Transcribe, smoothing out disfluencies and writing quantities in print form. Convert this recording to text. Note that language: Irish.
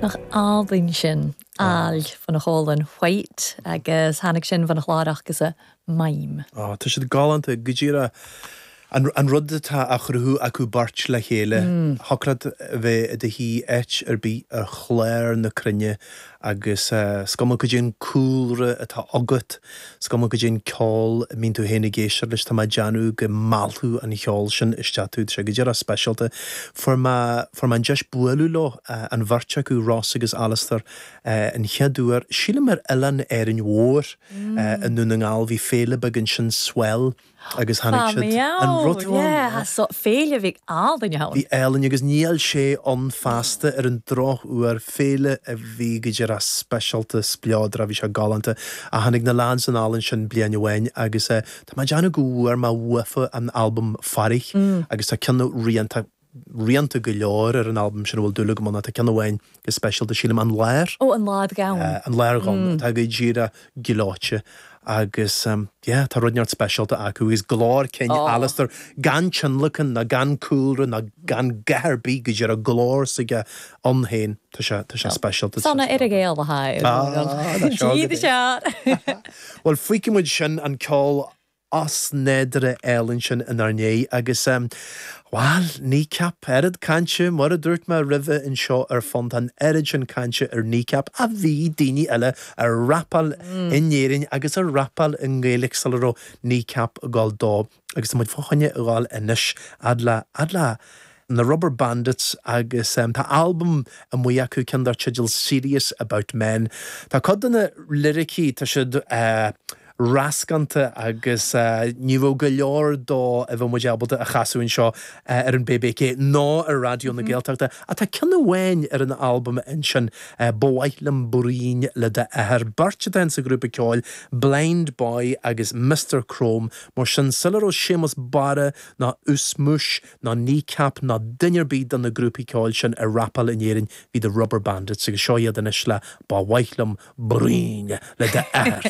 Nach álainn sin, Aill fan Chólann White agus tháinig sin fan chlár agus Mime. Á, tá siad galánta, go díreach. An rud atá á chruthú acu beirt le chéile, thiocfadh leat a bheith i do shuí áit ar bith ar chlár na cruinne agus is cuma goidé an cúlra atá agat, is cuma goidé an ceol a mbíonn tú féin ag éisteacht leis, tá mé ag déanamh go meallfadh an cheol sin isteach tú. Tá sé go díreach speisialta. Fuair mé, fuair mé an deis bualadh leo, an bheirt acu, Ross agus Alastair, an chéad uair, sílim ar oileán Árainn Mhór i nDún na nGall, bhí féile beag ansin, Swell, agus tháinig siad, an raibh tú ann? So, féile a bhí álainn ann. Bhí álainn agus níl sé ann feasta ar an drochuair, féile a bhí go díreach speisialta, spleodrach, bhí sé galánta. Ach tháinig na lads anall ansin bliain amháin agus tá mé ag déanamh go bhfuair mé uafa an albam Fairich agus tá ceann rianta, rianta go leor ar an albam sin a bhfuil dúil agam ann ach tá ceann amháin go speisialta, sílim, An Lár. Ó, An Lár Dhonn. An Lár Dhonn, atá go díreach gleoite agus yeah, tá rud inteacht speisialta acu agus glór cinn Alastair gan tionlacan ná gan cúlra ná gan a dhath ar bith, go díreach glór s'aige ann féin, tá sé, tá sé speisialta. Sona ar a gcéile, hi. Ah, seo go dtí. Bhuel, feicfidh muid sin an ceol osnádúrtha álainn sin inár ndiaidh agus, bhuel, Kneecap, oiread cainte, mar a dúirt mé roimhe anseo ar Fonn, tá an oiread sin cainte ar Kneecap ach bhí daoine eile a' rapáil in Éirinn agus a' rapáil i nGaeilge sula raibh Kneecap ag gabháil dó agus tá muid fá choinne a ghabháil anois fhad le, fhad le na Rubberbandits agus tá albam amuigh acu, ceann dar teideal Serious About Men. Tá cuid de na liricí, tá siad rascánta agus ní raibh go leor dó a bheadh muid ábalta a chasadh anseo ar an bbk ná ar Raidió na Gaeltachta. Ach tá ceann amháin ar an albam ansin, Ba mhaith liom bruíon le d'athair. Beirt atá in sa ghrúpa ceoil, Blind Boy agus Mister Chrome. Mar sin, sula raibh Séamus Barra ná Us Mus ná Kneecap ná duine ar bith de na grúpaí ceoil sin ag rapáil in Éirinn, bhí The Rubberbandits agus seo iad anois le Ba mhaith liom bruíon le d'athair.